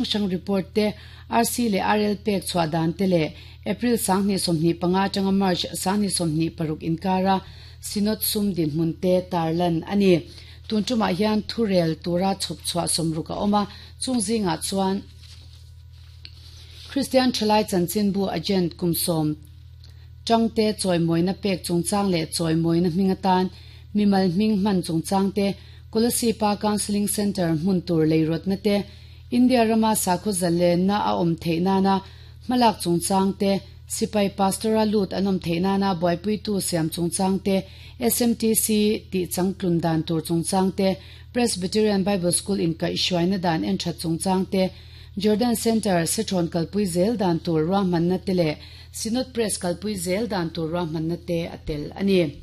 Hrang report te, RC leh RL pek chhuah dan te leh April 2025 atanga March 2026 inkara Synod sum dinhmun te tarlan a ni. Tun tumah hian thurel tura chhawp chhuah sawmruk a awm a, chung zingah chuan Kristian Thalai Chanchinbu Agent kum sawm tangte chawimawina pek chungchang leh chawimawina hming atan mimal hming hman chungchang te, Kolasib-a Counselling Centre hmun tur leirawtna te, India rama sakhaw zalenna a awm theih nana hmalak chungchang te, sipai pastor-a lut an awm theih nana buaipuitu siam chungchang te, SMTC tih changtlun dan tur chungchang te, Presbyterian Bible School inkaihhruaina dan en that chungchang te, Jordan Centre sethrawn kalpui zel dan tur ruahmanna te leh Synod Press kalpui zel dan tur ruahmanna te a tel a ni.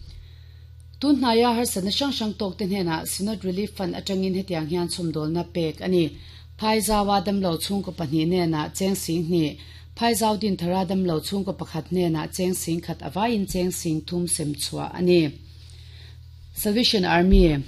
Tun hnaia harsatna hrang hrang tawkte hnenah Synod Relief Fund atangin hetiang hian chhawmdawlna pek a ni. Phaizaua damlo chhungkaw pahnih hnenah cheng sing hnih, Phaizau Dinthara damlo chhungkaw pakhat hnenah cheng sing khat avaiin cheng sing thum sem chhuah a ni. Salvation Army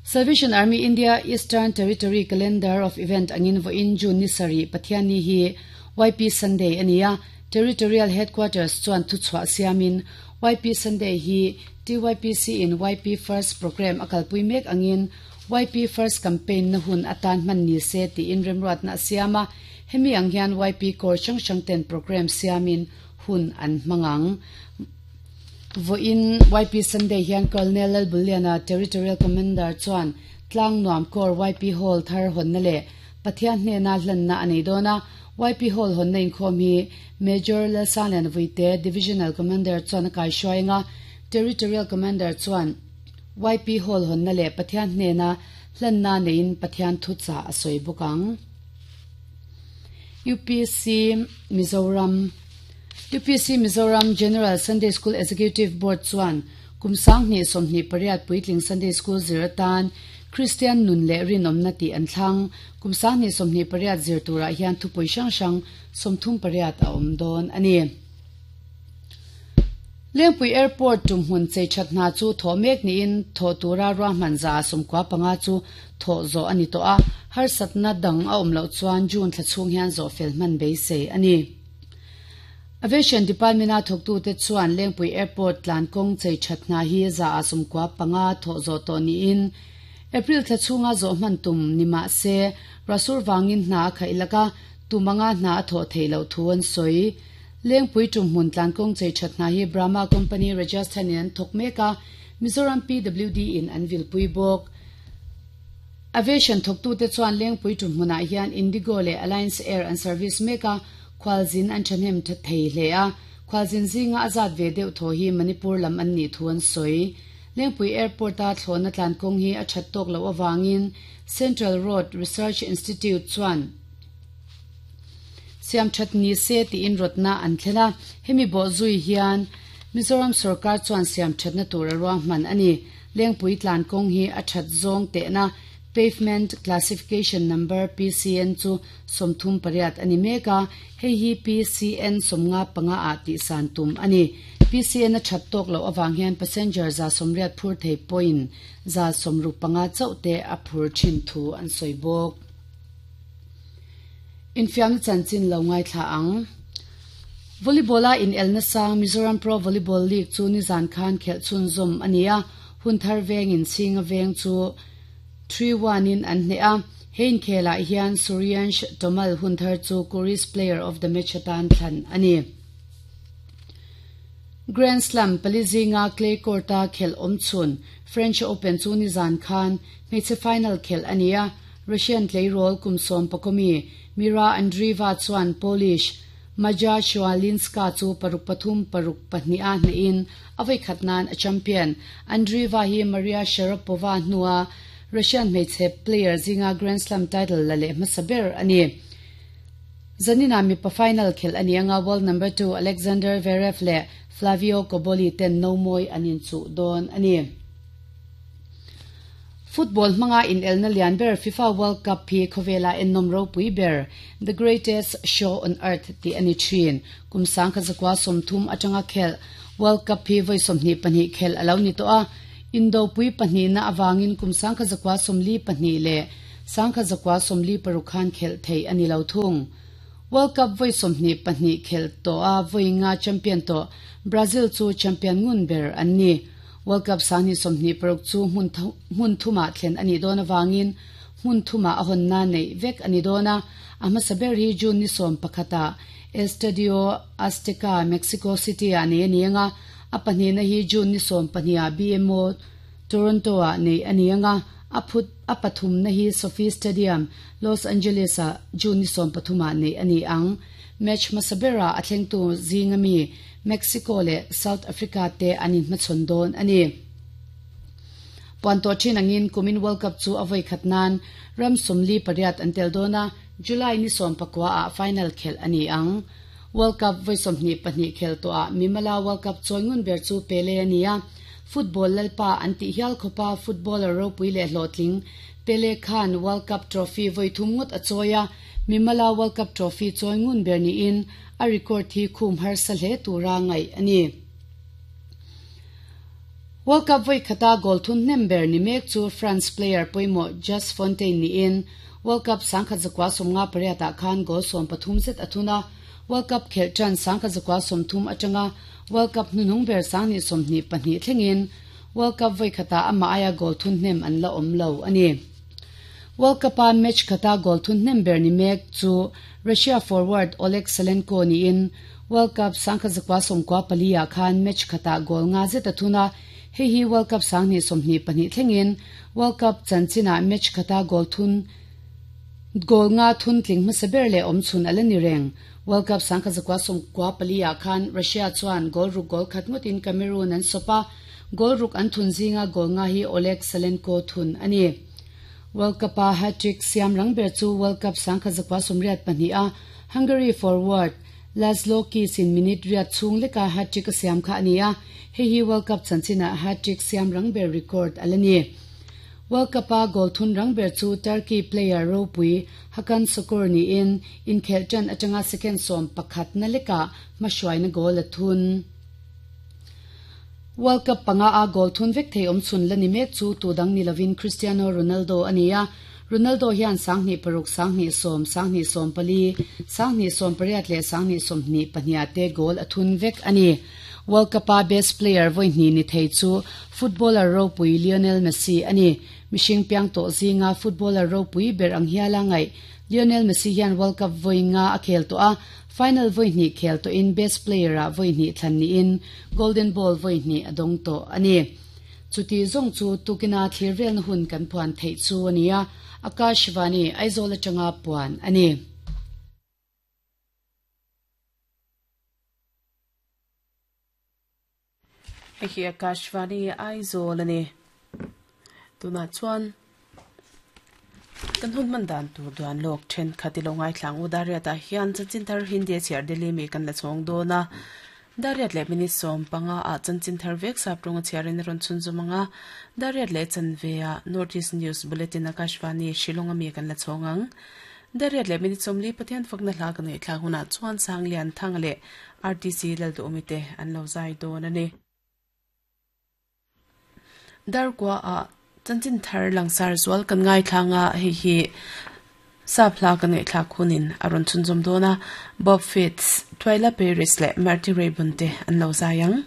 Salvation Army India Eastern Territory Calendar of Event angin vawiin June ni sarih Pathianni hi YP Sunday a ni a, Territorial Headquarters chuan thuchhuah siamin YP Sunday hi TYPC in YP First Programme a kalpui mek angin YP First Campaign na hun atan hman ni se tiin remruatna a siam a, hemi ang hian YP Corps hrang hrang ten programme siamin hun an hmang ang. Vawiin YP Sunday hian Colonel Lalbulliana Territorial Commander chuan Tlangnuam Corps YP Hall thar hawnna leh Pathian hnena hlanna a nei dawn a, YP Hall hawnna inkhawm hi Major Lalsangliana Vuite, Divisional Commander chuan a kaihruai anga Territorial Commander chuan YP Hall hawnna leh Pathian hnena hlanna neiin Pathian thuchah a sawi bawk ang. UPC Mizoram UPC Mizoram General Sunday School Executive Board chuan kum 2028 puitling Sunday School zir atan Kristian nun leh rinawmna tih an thlang. Kum 2028 zir turah hian thupui hrang hrang 38 a awm dawn a ni. Lengpui Airport tumhmun chei that hna chu thawh mek niin thawh tura ruahman za 95 chu thawh zawh a ni tawh a, harsatna dang a awm loh chuan June thla chhung hian zawh fel hman beisei a ni. Aviation Department-a thawktute chuan Lengpui Airport tlan kawng chei that hna hi 95% thawh zawh tawh niin April thla chhunga zawh hman tum ni mah se Rasur vangin hna a khaih lak a, tum anga hna a thawh theih loh thu an sawi. Lengpui tumhmun tlan kawng chei that hna hi Brahma Company Rajasthan in an thawk mek a, Mizoram PWD in an vilpui bawk. Aviation thawktute chuan Lengpui tumhmunah hian Indigo leh Alliance Air an service mek a, khualzin an thahnem thei hle a, khualzin zinga a zat ve deuh thaw hi Manipur lam an nih thu an sawi. Lengpui Airport-a thlawhna tlan kawng hi a that tawk loh avangin Central Road Research Institute chuan siam that ni se tiin rawtna an thlen a, hemi bawhzui hian Mizoram sorkar chuan siam thatna tur a ruahman a ni. Lengpui tlan kawng hi a that zawng tehna Pavement Classification Number, PCN, chu 38 a ni mek a, hei hi PCN 55 ah tihsan tum a ni. PCN a that tawk loh avang hian passenger 180 phur thei pawhin 65 chauh te a phur thin thu an sawi bawk. Infiamna chanchin lo ngaithla ang. Volleyball-a inelna sang Mizoram Pro Volleyball League chu nizan khan khelh chhunzawm a ni a, hun thar vengin Chhinga veng chu 3-1 in an hneh a. He inkhelah hian Suryansh Tomal hun thar chu Kuris Player of the Match atan thlan a ni. Grand Slam pali zinga clay court-a khelh awm chhun French Open chu nizan khan hmeichhe final khelh a ni a, Russian tleirawl kum sawm pakawmi Mira Andreeva chuan Polish Maja Chwalinska chu paruk pathum paruk pahnih a hnehin a vawikhat nan a champion. Andreeva hi Maria Sharapova hnua Russian hmeichhe player zinga Grand Slam title la leh hmasa ber a ni. Zanina mipa final khelh a ni anga world number two Alexander Zverev leh Flavio Cobolli ten nomawi an inchuh dawn a ni. Football hmanga inelna lian ber FIFA World Cup hi khawvela ennawm ropui ber, The Greatest Show on Earth tih a ni thin. Kum 1930 atanga khelh World Cup hi vawi 22 khelh a lo ni tawh a, indopui pahnihna avangin kum 1942 leh. 1946 khan khelh theih a ni lo thung. World Cup vawi 22 khelh tawha vawi nga champion tawh Brazil chu champion ngun ber an ni. World Cup 2026 chu hmun thumah thlen a nih dawn avangin hmun thumah a hawnna neih vek a ni dawn a, a hmasa ber hi June ni 11 ah Estadio Azteca, Mexico City-ah nei a ni ang a, a pahnihna hi June ni 12 ah BMO Toronto-ah neih a ni ang a, a phut a pathumna hi SoFi Stadium, Los Angeles-ah June ni 13 ah neih a ni ang. Match hmasa berah a thlengtu zinga mi Mexico leh South Africa te an inhmachhawn dawn a ni. Puan tawh thin angin kumin World Cup chu a vawi khat nan ram 48 an tel dawn a, July ni 19 ah final khelh a ni ang. World Cup vawi 22 khelh tawhah Mimala World Cup chawi ngun ber chu Pele a ni a, football lalpa an tih hial khawpa footballer ropui leh hlawhtling Pele khan World Cup trophy vawi thum ngawt a chawi a, Mimala World Cup trophy chawi ngun ber niin a record hi khum harsa hle tura ngaih a ni. World Cup vawi khata goal thun hnem ber ni mek chu France player pawimawh Just Fontaine niin World Cup 1958 ah khan goal 13 zet a thun a, World Cup khelh tan 1930 atanga World Cup hnuhnung ber 2022 thlengin World Cup vawi khatah amah aia goal thun hnem an la awm lo a ni. World Cup-a match khata goal thun hnem ber ni mek chu Russia forward Oleg Salenko niin World Cup 1994 ah khan match khatah goal nga zet a thun a, hei hi World Cup 2022 thlengin World Cup chanchinah match khata goal thun goal nga thun tling hmasa ber leh awm chhun a la ni reng. World Cup 1994 ah khan Russia chuan goal ruk goal khat ngawtin Cameroon an sawp a, goal ruk an thun zinga goal nga hi Oleg Salenko thun a ni. World Cup-a hat-trick siam rang ber chu World Cup 1982 a Hungary forward Laszlo Kiss-in minute riat chhung leka hat-trick a siam kha a ni a, hei hi World Cup chanchinah hat-trick siam rang ber record a la ni. World Cup-a goal thun rang ber chu Turkey player ropui Hakan Sukur niin inkhelh tan atanga second 11 na lekah hmahruaina goal a thun. World Cup panga a goal thun vek thei awm chhun la ni mek chu tu dang ni lovin Cristiano Ronaldo a ni a, Ronaldo hian 2006, 2010, 2014, 2018 leh 2022 te goal a thun vek a ni. World Cup-a best player vawi hnih ni thei chu footballer ropui Lionel Messi a ni. Mihring piang tawh zinga footballer ropui ber ang hiala ngaih Lionel Messi hian World Cup vawi nga a khel tawh a, final vawi hnih khel tawhin best player-ah vawi hnih thlan niin Golden Ball vawi hnih a dawng tawh a ni. Chuti zawng chu tukina thlir velna hun kan puan theih chu a ni a, Akashvani, Aizawl atanga puan a ni. Hei hi Akashvani, Aizawl a ni. Tunah chuan kan hun hman dan tur duan lawk thenkhat i lo ngaithla ang u. Dariatah hian chanchin thar Hindi a chhiar Delhi mi kan la chhawng dawn a. Dariat leh minute 15 ah chanchin thar vek sap rawng a chhiarin a rawn chhunzawm ang a. Dariat leh chanve ah North East News Bulletin Akashvani, Shillong a mi kan la chhawng ang. Dariat leh minute 40 Pathian fakna hla kan ngaihthlak hunah chuan Sanglian Thanga leh RTC Lalduhawmi te an lo zai dawn a ni. Darkua ah chanchin thar langsar zual kan ngaithlang a, hei hi sap hla kan ngaihthlak hunin a rawn chhunzawm dawn a, Bob Fitts, Twyla Paris leh Marty Raybon te an lo zai ang.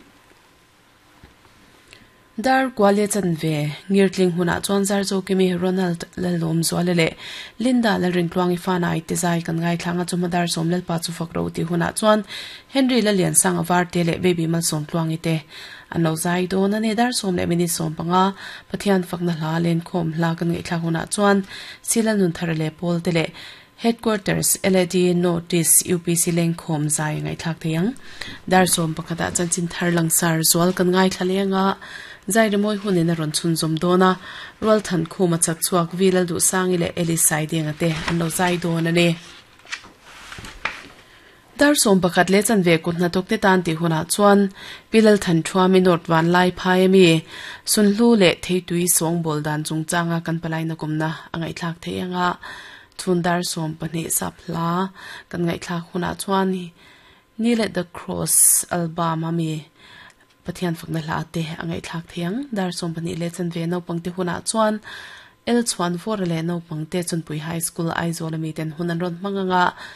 Darkua leh chanve ngirtling hunah chuan Zarzokimi, Ronald Lalawmzuala leh Linda Lalrintluangi fanai te zai kan ngaithlang a, chawhma dar sawm Lalpa chu fak ro tih hunah chuan Henry Laliansanga Varte leh Baby Malsawmtluangi te An lo zai dawn a ni. Dar sawm leh minute 15 Pathian fakna hla lenkhawm hla kan ngaihthlak hunah chuan Sila Nunthara leh Pawl te leh Headquarters LAD Notice UPC lenkhawm zai a ngaihthlak thei ang. Dar 11 ah chanchin thar langsar zual kan ngaithla leng a, zai rimawi hunin a rawn chhunzawm dawn a, Rualthan Khuma chak chhuak Vi Lalduhsangi leh Eli Saidenga te an lo zai dawn a ni. Dar 11 leh chanve kut hnathawk te tan tih hunah chuan Pi Lalthan Thuami North Vanlai phai ami Sunhlu leh Theitui sawngbawl dan chungchanga kan palaina kawmna a ngaihthlak theih anga chhun dar 12 sap hla kan ngaihthlak hunah chuan Kneel at the Cross album ami Pathian fakna hla te a ngaihthlak theih ang. Dar 12 leh chanve naupang te hunah chuan. L Chhuanvawra leh naupangte Chunpui High School Aizawl ami ten hun an rawn hmang anga.